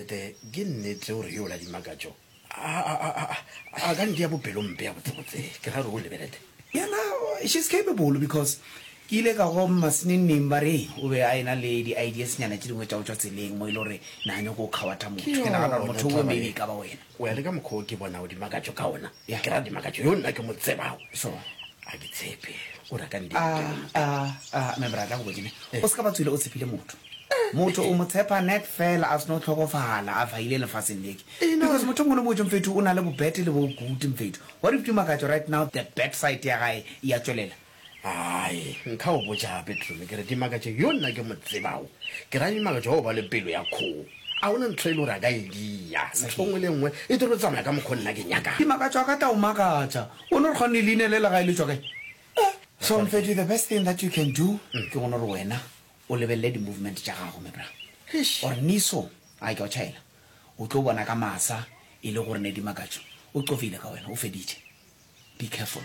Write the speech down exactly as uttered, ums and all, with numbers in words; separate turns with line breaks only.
Ete ke nnete gore yo la Dimakatšo a, a, a, a, a ka ntia bopelompe ya botsebotse, ke ra re o lebelete.
Yena she's capable because ke ile ka go maseneneng ba re o be a ena le di-ideas nyana tše dingwe tša go tšwa tseleng mo e le gore na nyako o kgawatha motho.
Ke
Ke nagana gore
yona
motho owe
taba
maybe
ye.
e ka ba wena.
O ya le ka mokgwa o ke bonago Dimakatšo ka ona,
Yeah.
ke ra Dimakatšo yo nna ke mo tsebago.
Sure.
A ke tshepe o re a ka ntia
A,
bopelompe.
a, a, my brother, go botše ne, o se ka ba tswile o tshepile motho. Motho o mo tshepa net fela a seno hlokofala a faile lefaseng leke. Because motho o mongwe le mongwe mfethu o na le bo bad le bo good mfethu. What if Dimakatšo right now the bad side ya gae e ya tšwelela?
Ai, nka o botša gape Tumi, ke re Dimakatšo yo nna ke mo tsebago, ke ra Dimakatšo wa go ba le pelo ya kgogo. A gona ntho e le gore a ka e dia, ntho nngwe le nngwe e tlo tsamaya ka mokgwa o nna ke nyakago.
Dimakatšo a ka tla o makatša. O no re kgone leina le la gae le tšwa kae? So mfethu the best thing that you can do ke go no re wena o lebelele di-movement tša gago my bra.
Eish.
Or niso, ai ke a o tšhaela, o tlo bona ka masa e le gore ne Dimakatšo o qofile ka wena, o feditše. Be careful.